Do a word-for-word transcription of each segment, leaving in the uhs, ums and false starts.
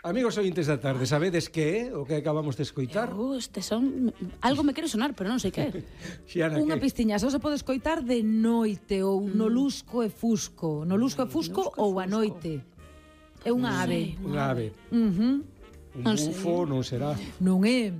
Amigos ointes da tarde, sabedes que é o que acabamos de escoitar? Eu, este son... Algo me quere sonar, pero non sei que. Xiana, Unha que? pistiña, só se pode escoitar de noite ou no lusco e fusco. No lusco e fusco Lusco e ou a fusco. noite. É unha Non ave. sei. Unha ave. Uh-huh. Un Non sei. bufo non será. Non é...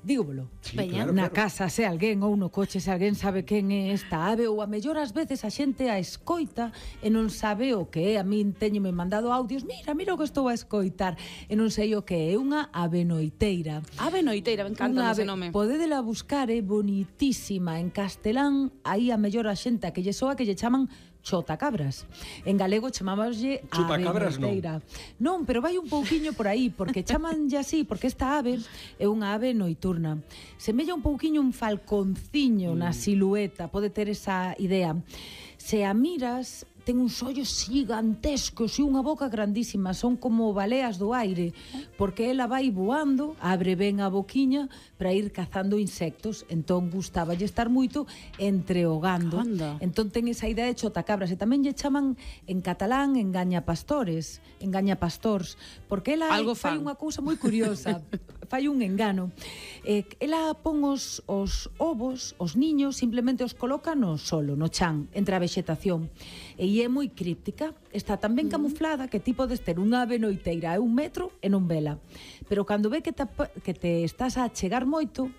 Dígomolo. Sí, Veña. claro, Na claro. casa, se alguén ou no coche, se alguén sabe quen é esta ave, ou a mellor ás veces a xente a escoita e non sabe o que é. A min teñome mandado audios, mira, mira o que estou a escoitar, e non sei o que é. É unha ave noiteira. Ave noiteira, me encanta Unha ese ave, nome. podedela buscar, é bonitísima. En castelán, aí a mellor a xente a que lle soa que lle chaman chotacabras. En galego chamámoslle ave Chupacabras, non. noiteira. Non, pero vai un pouquiño por aí, porque chamanlle así, porque esta ave é unha ave noiturna. Semella un pouquiño un falconciño na silueta, pode ter esa idea. Se a miras, ten uns ollos gigantescos e unha boca grandísima, son como baleas do aire, porque ela vai voando, abre ben a boquiña para ir cazando insectos, entón gustaballe estar moito entreogando. Anda. Entón ten esa idea de chotacabras, e tamén lle chaman en catalán engañapastores, engañapastors, porque ela Algo fai fan. unha cousa moi curiosa, fai un engano. Eh, ela pon os, os ovos, os niños, simplemente os coloca no solo, no chan, entre a vexetación. E é moi críptica, está tan ben camuflada que ti podes ter unha ave noiteira a un metro e non vela. Pero cando ve que te, que te estás a chegar moito,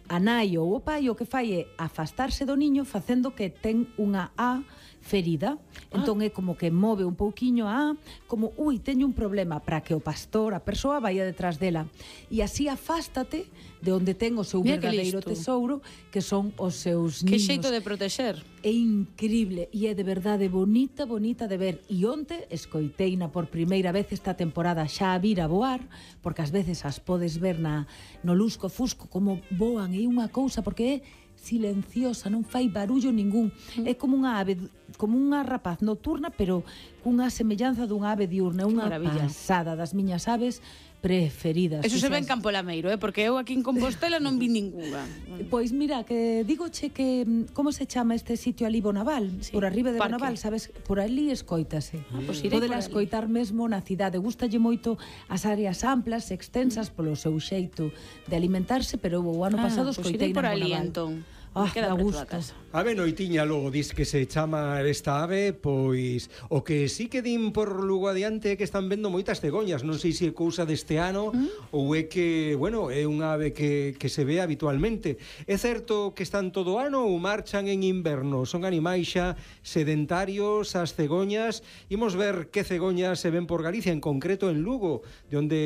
a nai ou o pai o que fai é afastarse do niño facendo que ten unha A ferida. Entón é como que move un pouquiño a A, como, ui, teño un problema, para que o pastor, a persoa, vaya detrás dela. E así afástate de onde ten o seu Mira que verdadeiro listo. tesouro, que son os seus Que niños. xeito de protexer. É increíble e é de verdade bonita, bonita de ver. E onte escoiteina por primeira vez esta temporada xa a vir a voar, porque ás veces as podes ver na, no lusco fusco como voan, é unha cousa, porque é silenciosa, non fai barullo ningún. É como unha ave, como unha rapaz nocturna, pero cunha semellanza dunha ave diurna, unha maravilla. pasada das miñas aves preferidas. Eso se ve en Fixas- Campo Lameiro, eh? Porque eu aquí en Compostela non vi ninguna. Pois mira, que digoche que mm, como se chama este sitio ali, Bonaval, Sí, por arriba de parque. Bonaval, sabes, por ali escoítase. Ah, pois irei Podela por ali. escoitar mesmo na cidade. Gustalle moito as áreas amplas, extensas polo seu xeito de alimentarse, pero o ano Ah, pasado pois escoitei irei por na ali, Bonaval. entón. Ah, Me queda dá preto da gusto. casa. Ave noitiña logo dis que se chama esta ave, pois o que sí que din por Lugo adiante é que están vendo moitas cegoñas, non sei se é cousa deste ano mm. ou é que, bueno, é unha ave que, que se ve habitualmente. É certo que están todo o ano ou marchan en inverno? Son animais xa sedentarios as cegoñas. Imos ver que cegoñas se ven por Galicia, en concreto en Lugo, de onde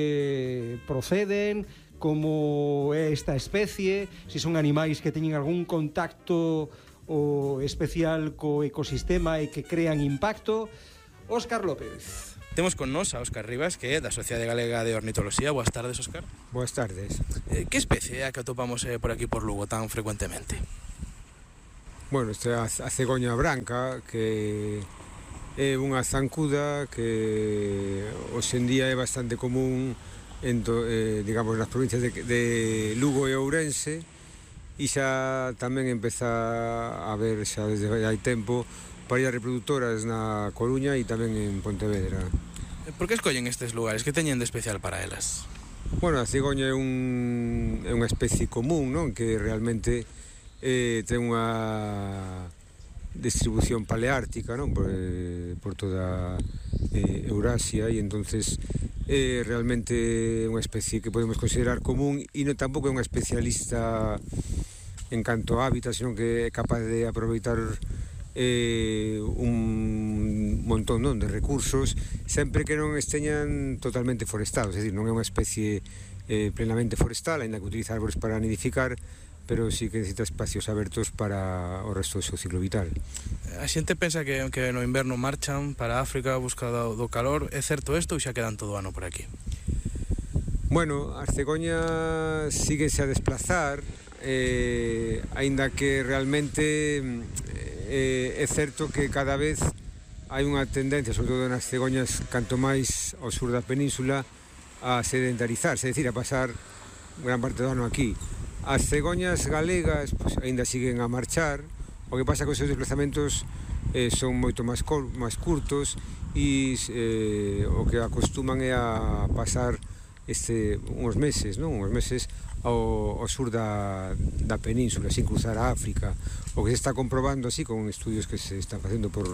proceden, como é esta especie, se son animais que teñen algún contacto o especial co ecosistema e que crean impacto. Óscar López. Temos con nos a Óscar Rivas, que é da Sociedade Galega de Ornitoloxía. Boas tardes, Óscar. Boas tardes. Eh, que especie é a que atopamos eh, por aquí por Lugo tan frecuentemente? Bueno, esta é a cegoña branca, que é unha zancuda que hoxe en día é bastante común en to, eh, digamos, nas provincias de, de Lugo e Ourense, e xa tamén empeza a ver xa desde hai tempo parillas reproductoras na Coruña e tamén en Pontevedra. Eh, Por que escollen estes lugares? Que teñen de especial para elas? Bueno, a cigoña é, un, é unha especie común, non? Que realmente eh, ten unha distribución paleártica, non? Por, eh, por toda eh, Eurasia, e entonces é realmente unha especie que podemos considerar común, e non tampouco é unha especialista en canto a hábitat, senón que é capaz de aproveitar eh, un montón, non, de recursos, sempre que non esteñan totalmente forestados, é dicir, non é unha especie eh, plenamente forestal, aínda que utiliza árbores para nidificar, pero sí que necesita espacios abertos para o resto do seu ciclo vital. A xente pensa que, que no inverno marchan para África a busca do, do calor. É certo isto ou xa quedan todo o ano por aquí? Bueno, as cegoñas síguense a desplazar, eh, aínda que realmente eh, é certo que cada vez hai unha tendencia, sobre todo nas cegoñas canto máis ao sur da península, a sedentarizarse, é dicir, a pasar gran parte do ano aquí. As cegoñas galegas pues, aínda siguen a marchar, o que pasa que os seus desplazamentos eh, son moito máis, cor, máis curtos, e eh, o que acostuman é a pasar este, uns meses, non? Uns meses ao, ao sur da, da península, sin cruzar a África. O que se está comprobando así con estudios que se están facendo por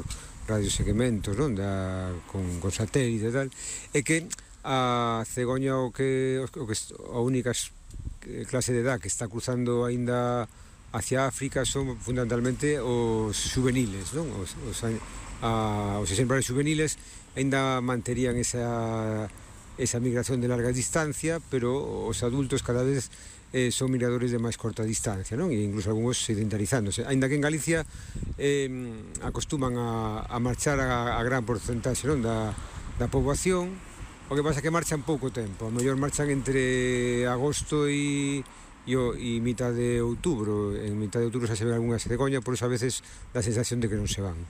radiosegmentos, non? Da, con, con satélite e tal, é que a cegoña o que, o que a única clase de edad que está cruzando aínda hacia África son fundamentalmente os juveniles, non? Os, os, a, os exemplares juveniles aínda manterían esa esa migración de larga distancia, pero os adultos cada vez eh, son migradores de máis corta distancia, non? E incluso algúns sedentarizándose. Ainda que en Galicia eh, acostuman a, a marchar a, a gran porcentaxe, non? Da, da poboación, o que pasa que marchan pouco tempo, a mellor marchan entre agosto e e, o, e mitad de outubro. En mitad de outubro xa se ven algunha cegoña, por iso a veces dá a sensación de que non se van.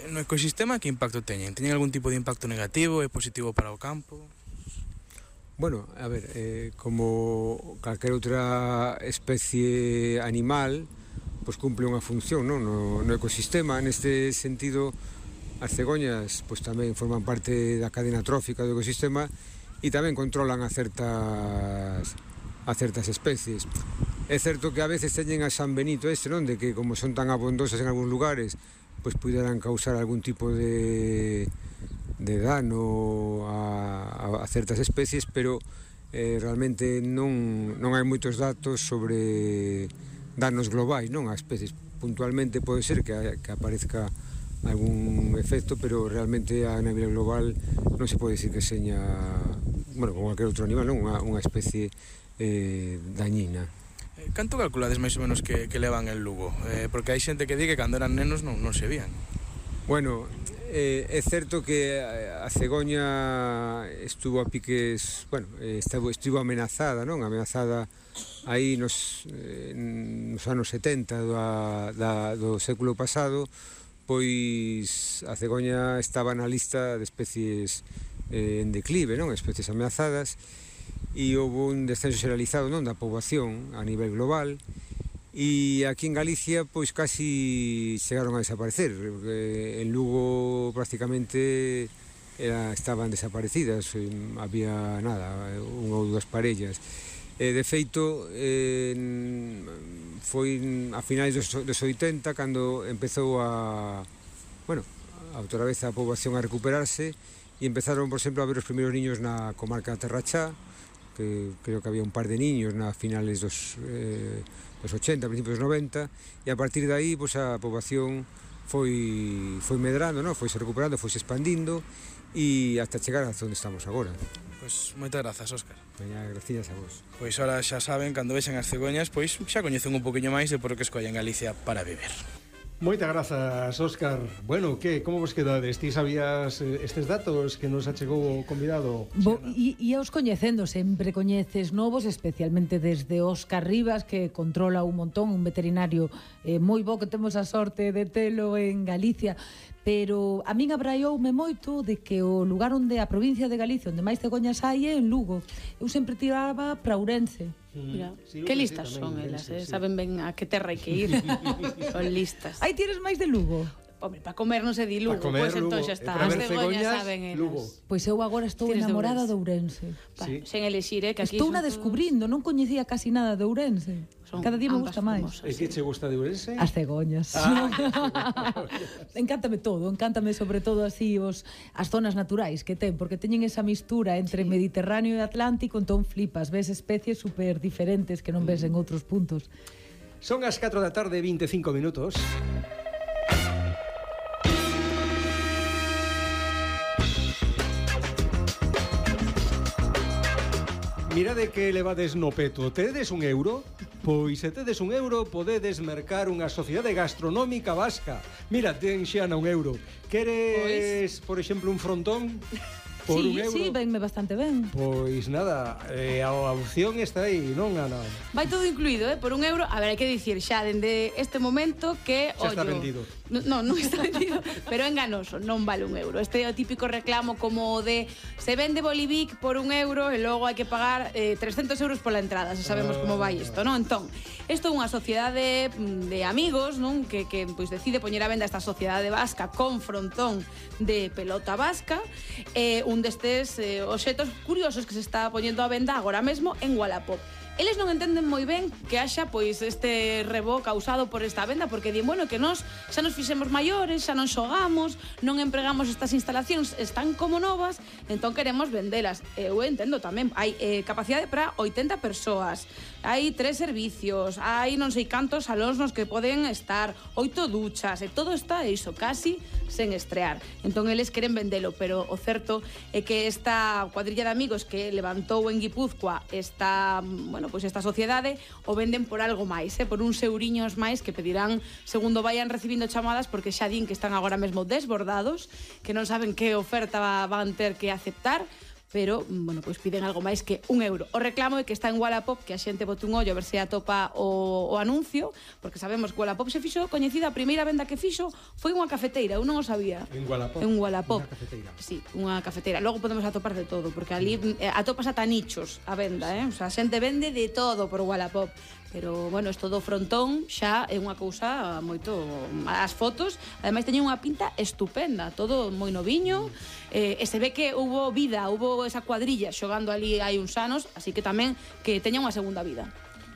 No ecosistema que impacto teñen? Teñen algún tipo de impacto negativo, é positivo para o campo? Bueno, a ver, eh, como calquer outra especie animal, pois cumple unha función, non? No, no ecosistema. Neste sentido, as cegoñas pois tamén forman parte da cadena trófica do ecosistema e tamén controlan a certas a certas especies. É certo que a veces teñen a San Benito este, non? De que como son tan abondosas en algúns lugares, pois puderan causar algún tipo de de dano a, a certas especies, pero eh, realmente non, non hai moitos datos sobre danos globais, non? A especies. Puntualmente pode ser que, que aparezca algún efecto, pero realmente a nivel global non se pode dicir que seña, bueno, como cualquier outro animal, non? Unha, unha especie eh, dañina. Canto calculades máis ou menos que, que levan en Lugo? Eh, porque hai xente que di que cando eran nenos non, non se vían. Bueno, eh, é certo que a cegoña estuvo a piques, bueno, estuvo, estuvo amenazada, non? Amenazada aí nos, eh, nos anos setenta do, da, do século pasado, pois a cegoña estaba na lista de especies eh, en declive, non? Especies ameazadas, e houve un descenso xeralizado, non? Da poboación a nivel global. E aquí en Galicia pois casi chegaron a desaparecer. En Lugo prácticamente era, estaban desaparecidas, había nada, unha ou dúas parellas. E, de feito, eh, foi a finais dos, dos oitenta cando empezou a, bueno, a outra vez a poboación a recuperarse e empezaron, por exemplo, a ver os primeiros niños na comarca de Terrachá, que creo que había un par de niños na finales dos... Eh, dos ochenta, principios dos noventa, e a partir de aí pois, a poboación foi, foi medrando, non? Foi se recuperando, foi se expandindo e hasta chegar a onde estamos agora. Pois moitas grazas, Óscar. Veña, gracias a vos. Pois ahora xa saben, cando vexan as cegoñas, pois xa coñecen un poquinho máis de por que escollen Galicia para viver. Moitas grazas, Óscar. Bueno, que, como vos quedades? Ti sabías estes datos que nos achegou o convidado? Bo, e, e aos coñecendo, sempre coñeces novos, especialmente desde Óscar Rivas, que controla un montón, un veterinario eh, moi bo, que temos a sorte de telo en Galicia. Pero a min abraioume moito de que o lugar onde a provincia de Galicia onde máis cegoñas hai é en Lugo. Eu sempre tiraba para Ourense. Mira, Sí, que sí, listas tamén, son sí, elas, eh? sí. Saben ben a que terra hai que ir. Son listas. Aí tires máis de Lugo? Hombre, para comer non se di Lugo, Pa comer, pois entón Lugo. xa E está. para As ver cegoñas cegoñas, saben elas. Lugo. Pois eu agora estou Tires de enamorada de Ourense. Ourense. Pa, Sí. sen elixir, eh, que aquí Estou son na todos- descubrindo, non coñecía casi nada de Ourense. Son Cada día me ambas gusta máis. famosas. E que che gusta de Ourense? As cegoñas. Ah, Encántame todo, encántame sobre todo así os as zonas naturais que ten, porque teñen esa mistura entre Sí. Mediterráneo e Atlántico, entón flipas, ves especies super diferentes que non ves en outros puntos. Son as catro da tarde e veinticinco minutos. Mirade que levades no peto. Tedes un euro? Pois se tedes un euro podedes mercar unha sociedade gastronómica vasca. Mira, ten xa un euro. Queres, por exemplo, un frontón? Por sí, un euro? sí, venme bastante ben. Pois nada, eh, a opción está aí, non, Ana? Vai todo incluído, eh? Por un euro. A ver, hai que dicir xa dende este momento que, Xa ollo, está vendido. Non, non está vendido, pero é enganoso, non vale un euro. Este é o típico reclamo como o de se vende Bolivic por un euro e logo hai que pagar eh, trescentos euros pola entrada, se sabemos como vai isto, non? Entón, isto é unha sociedade de amigos, non? Que, que pois, decide poñer a venda esta sociedade vasca con frontón de pelota vasca, eh, un destes eh, obxetos curiosos que se está poñendo a venda agora mesmo en Wallapop. Eles non entenden moi ben que haxa pois este rebo causado por esta venda, porque din, bueno, que nós xa nos fixemos maiores, xa non xogamos, non empregamos estas instalacións, están como novas, entón queremos vendelas. Eu entendo tamén, hai eh, capacidade para oitenta persoas, hai tres servicios, hai non sei cantos salóns nos que poden estar, oito duchas, e todo está iso, casi sen estrear. Entón eles queren vendelo, pero o certo é que esta cuadrilla de amigos que levantou en Guipúzcoa esta, bueno, pois esta sociedade o venden por algo máis, eh? Por uns euriños máis que pedirán segundo vayan recibindo chamadas, porque xa din que están agora mesmo desbordados, que non saben que oferta van ter que aceptar, pero, bueno, pois piden algo máis que un euro. O reclamo é que está en Wallapop, que a xente bote un ollo a ver se atopa o, o anuncio, porque sabemos que Wallapop se fixo coñecida, a primeira venda que fixo foi unha cafeteira, eu non o sabía. En Wallapop? En Wallapop. Unha cafeteira. Sí, unha cafeteira. Logo podemos atopar de todo, porque ali eh, atopas ata nichos a venda, eh? O sea, a xente vende de todo por Wallapop. Pero, bueno, isto do frontón xa é unha cousa moito... As fotos, ademais, teñen unha pinta estupenda, todo moi noviño, eh, e se ve que hubo vida, hubo esa cuadrilla xogando ali hai uns anos, así que tamén que teña unha segunda vida.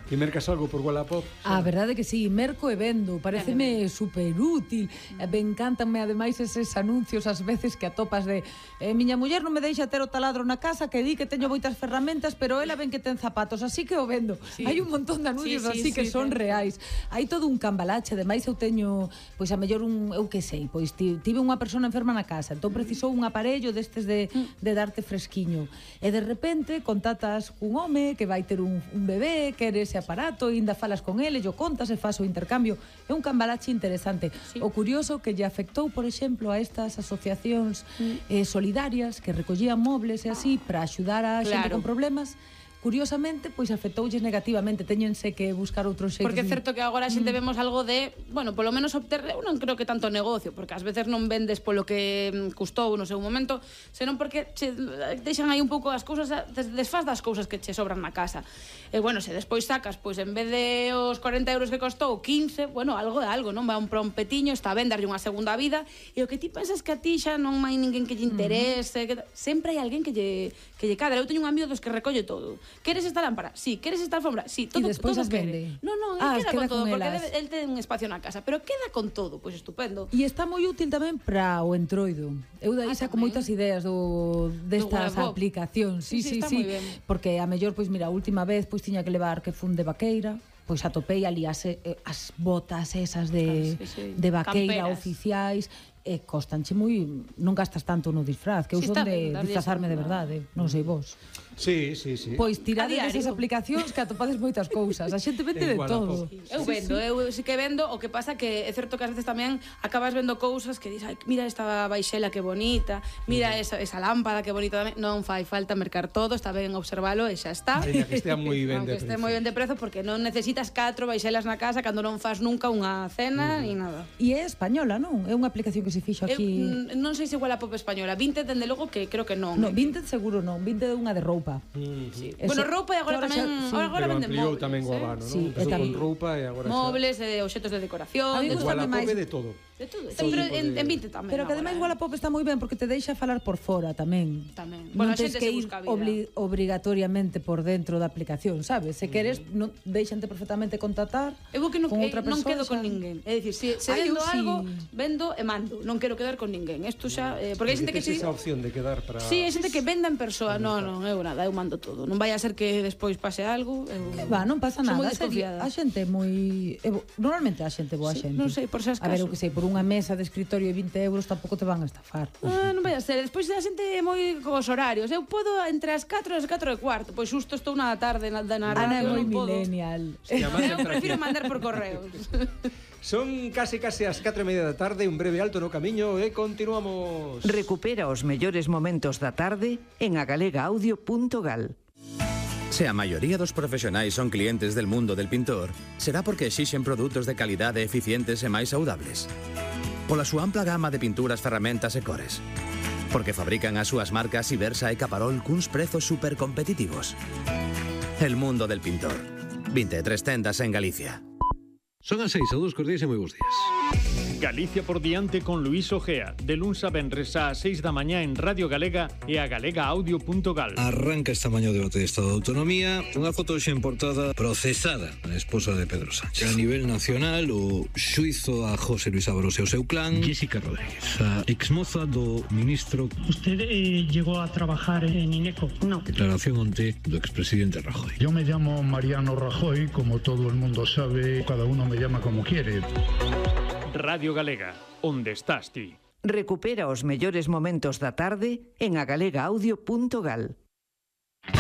E mercas algo por Wallapop? A verdade que sí, merco e vendo, pareceme super útil. Mm. Me encantanme ademais eses anuncios ás veces que atopas de eh, miña muller non me deixa ter o taladro na casa, que di que teño moitas ferramentas, pero ela ven que ten zapatos, así que o vendo. Sí. Hai un montón de anuncios sí, sí, así que sí, son sí, reais. Hai todo un cambalache, ademais eu teño, pois a mellor un, eu que sei, pois tive unha persona enferma na casa, entón precisou un aparello destes de, de darte fresquiño. E de repente contactas cun home que vai ter un, un bebé, quere ese aparato, e ainda falas con ele, yo contas e faz o intercambio. É un cambalache interesante. Sí. O curioso que lle afectou, por exemplo, a estas asociacións mm. eh, solidarias que recollían mobles e así para axudar a claro. xente con problemas, curiosamente, pois afectoulles negativamente, teñense que buscar outros xeitos. Porque é certo que agora a xente mm. vemos algo de, bueno, polo menos obter, eu non creo que tanto negocio, porque ás veces non vendes polo que custou no seu momento, senón porque che deixan aí un pouco as cousas, desfaz das cousas que che sobran na casa. E bueno, se despois sacas, pois en vez de os corenta euros que costou, quince, bueno, algo de algo, non? Va un petiño, está a venderlle unha segunda vida, e o que ti pensas que a ti xa non hai ninguén que lle interese, mm. que sempre hai alguén que lle, que lle cadra. Eu teño un amigo dos que recolle todo. Queres esta lámpara? Sí. Queres esta alfombra? Sí. Todo, e despois todo as vende. No, no, ah, queda, queda con todo, con porque debe, el ten un espacio na casa, pero queda con todo, pois pues estupendo. E está moi útil tamén para o entroido. Eu dai ah, saco moitas ideas do destas do aplicacións. Sí, sí, sí, sí, sí. Porque a mellor, pois mira, a última vez pois tiña que levar que fun de vaqueira, pois atopei ali as, as botas esas de, claro, sí, sí. de vaqueira Camperas. Oficiais, e costanche moi, non gastas tanto no disfraz, que eu sí, son de disfrazarme de verdade, non sei vos. Sí, sí, sí. Pois tirade desas aplicacións que atopades moitas cousas. A xente vende de todo. Sí, eu vendo, sí, sí. eu sí que vendo, o que pasa que é certo que ás veces tamén acabas vendo cousas que dis, ai, mira esta baixela que bonita, mira esa, esa lámpada que bonita tamén. Non fai falta mercar todo, está ben observalo e xa está. Ainda que estea moi ben de prezo. Que estea moi ben de prezo, porque non necesitas catro baixelas na casa cando non fas nunca unha cena ni nada. E é española, non? É unha aplicación que se fixo aquí. Eu, non sei se igual a Pop española. Vinted, dende logo, que creo que non. No, Vinted seguro non. Vinted é unha de roupa. Mm, sí. Bueno, roupa e agora tamén, sí, agora venden móviles. Tamén o abano, eh? sí, non? Empezou con roupa e agora móviles, e obxetos de decoración, a mí de Wallapop de todo. De todo. Pero en, en Vinted tamén. Pero que ademais Wallapop está moi ben porque te deixa falar por fora tamén. Tamén. Non tens que ir obli obrigatoriamente por dentro da aplicación, sabes? Se queres, non deixante perfectamente contactar con outra persoa. Non quedo con ninguén. É dicir, se, se vendo algo, vendo e mando. Non quero quedar con ninguén. Isto xa, eh, porque hai xente que tes esa opción de quedar para... Sí, hai xente que venda en persoa. Non, non, eu nada, eu mando todo. Non vai a ser que despois pase algo. Que va, non pasa nada. A xente é moi... Normalmente a xente boa xente. Non sei, por se as caso. A ver, o que sei, por unha mesa de escritorio e vinte euros tampouco te van a estafar. Ah, non vai a ser. Despois a xente é moi cos horarios. Eu podo entre as catro e as catro e cuarto. Pois xusto estou na tarde na, na radio. Ana é moi millennial. Eu prefiro mandar por correos. Son case case as catro e media da tarde, un breve alto no camiño e continuamos. Recupera os mellores momentos da tarde en agalegaaudio punto gal. Se a maioría dos profesionais son clientes del mundo del pintor, será porque exixen produtos de calidade eficientes e máis saudables. Pola súa ampla gama de pinturas, ferramentas e cores. Porque fabrican as súas marcas Ibersa e Caparol cuns prezos supercompetitivos. El mundo del pintor. vinte e tres tendas en Galicia. Son as seis, a dous cos días e moi bons días. Galicia por diante con Luís Ojea, de luns a venres ás seis da mañá en Radio Galega e a galega audio punto gal. Arranca esta mañá o debate de Estado de Autonomía. Unha foto xa en portada procesada a esposa de Pedro Sánchez. A nivel nacional, o xuizo a José Luis Ábalos e o seu clan. Jessica Rodríguez, a exmoza do ministro. ¿Usted eh, llegó a trabajar en INECO? No. Declaración onte do expresidente Rajoy. Yo me llamo Mariano Rajoy, como todo el mundo sabe, cada uno me llama como quiere. Radio Galega, onde estás ti? Recupera os mellores momentos da tarde en a galega audio punto gal.